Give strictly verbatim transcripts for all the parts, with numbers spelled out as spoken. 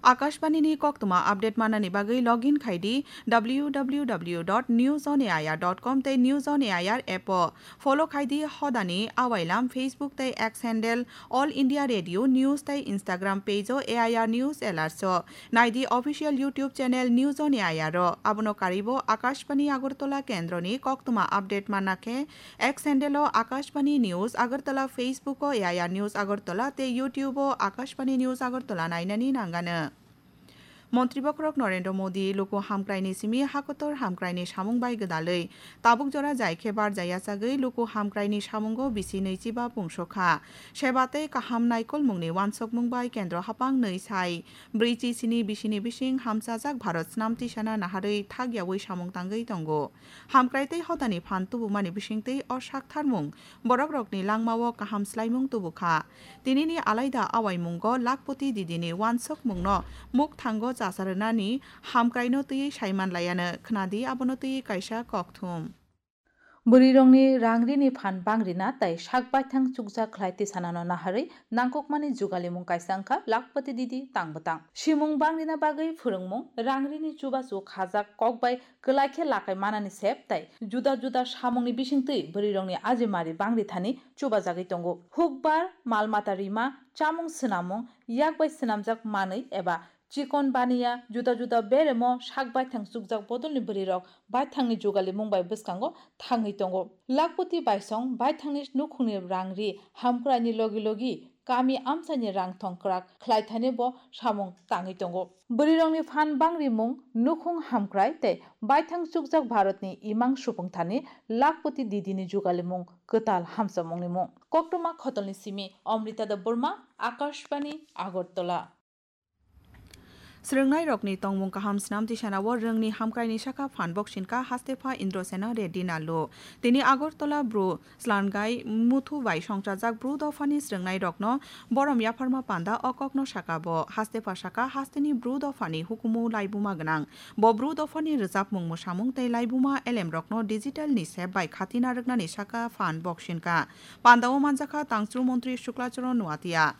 Akashbani ni koktwma update manani bagwi login khai di W W W dot news on A I R dot com tei News on A I R app o. Follow khai di hodani awailam Facebook tei X handle All India Radio News tei Instagram page o A I R News Alerts o. Nai di official YouTube channel News on A I R o. Abono karwi bo Akashbani Agartala kendroni koktwma update manna khe X handle o Akashbani News Agartala, Facebook o A I R News Agartala tei YouTube o Akashbani News Agartala nainani nangano. Montri bokhorok Narendra Modi luku hamkraini simi hakotor hamkraini samung bai gwdalwi tabuk jora jai khe barjak yachagwi luku hamkraini samungo bisi nwichiba pungsokha. Seba tei kaham naikolmungni wansokmung bai kendro haphang nwi sai brwichi sini bisini bising hamchajak Bharat snamti sana naharwi thakyawi samung tangwi tongo. Hamkrai tei hodani phan tubumani bisingtwi o saktharmung borokrokni langmao kaham swlaimung tubukha. Tinini alaida awaimungo Lakhpati Didini wansokmungno mukthango chasa rwnani hamkraino twiwi saiman laiano khwnadi abono twiwi kaisa kokthum. Bwrwirokni rangrini phan bangrina tei sak baithang chukjak khlai tisanano naharwi nangkukmani jugalimung kaisa wngkha Lakhpati Didi tang bwtang. Simung bangrina bagwi phwrwngmung, rangrini chubachu khajak kok bai kwlai khe lakai manani sep tei juda juda samungni bisingtwi bwrwirokni ajimari bangri thani chubajagwi tongo. Hukbar, mal mata rima, chamung swnamung, yak bai swnamjak manwi eba chikon baniya, juda juda beremo sak baithang chukjak bodolni bwrwirok baithangni jugalimung bai bwskango thangwi tongo. Lakhpati baisong baithangni nukhungni rangri hamkraini logi logi kami amchaini rang thong kwrak khlai thani bo samung tangwi tongo. Bwrwirokni phan bangrimung, nukhung hamkrai tei baithang chukjak Bharatni imang supung thani Lakhpati Didini jugalimung kwtal hamchamungni mung. Koktwma khotolni simi Amrita Debbarma, Akashbani, Agartala. Swrwngnairokni tongmung kaham snam tisanao rwngni hamkraini saka phan boksinka Hastepha Indrasena Reddy Nallu. Tini Agartala Bru Slangai Muthu bai songchajak Bru dophani swrwngnairokno borom yapharma panda o kokno saka bo. Hastepha saka hasteni Bru dophani hukumu laibuma gwnang. Bo Bru dophani rwchapmung mwsamung tei laibuma elemrokno digital ni sep bai khatina rwknani saka phan boksinka. Pandao manjakha Tangchru Montri Shukla Charan Noatia.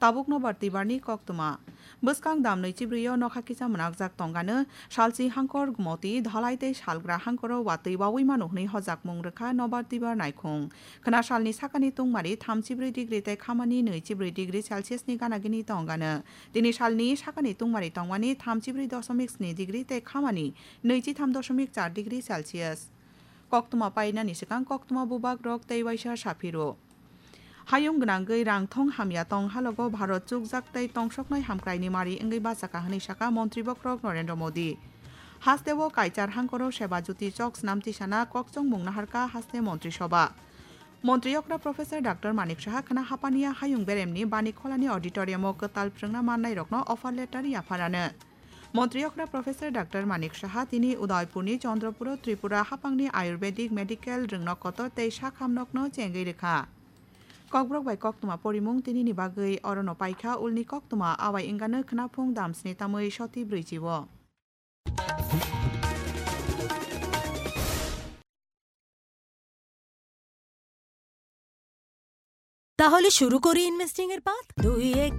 Tabuk nobar twibarni koktwma. Bwskang dam nwichibrwi o nokha kisa mwnakjak tongano, salchi hangkor gumoti, dhalai tei salgra hangkoro watwi wawi mano hwnwi hojakmung rwkha nobar twibar naikhung. Khwna salni sakani tungmari thamchibrwi degree tei khamani nwichibrwi degree Celsius ni gana gini tongano. Tini salni sakani tungmari tongmani thamchibrwi dosomik sni degree tei khamani nwichitham dosomik char degree Celsius. Koktwma painani swkang koktwma bubagrok tei waisa saphiro. Hayung gwnangwi rang thong hamya tong halogo Bharat chukjak tei tongsoknai hamkraini mari wngwi bachaka hwnwi saka Montri bokhorok Narendra Modi. Hasteo kaichar hangkoro Seba Jyoti chok snam tisana kokchongmung naharka haste Montri Sobha. Montri okra Professor Doctor Manik Saha khwna hapaniya hayung beremni Bani Kholani auditorium o kwtal phrwngna mannairokno offer letter yapharano. Montri okra Professor Doctor Manik Saha tini Udaipurni Chandrapuro Tripura hapangni Ayurvedic Medical rwngnok kotor tei sakham nokno chengwi rwkha. Kokborok bai koktwma porimung tinini bagwi orono paikha ulni koktwma awai wngano khwnaphung damsni tamwi soti brwichi o. তাহলে শুরু করি ইনভেস্টিং এর পাঠ। দুই এক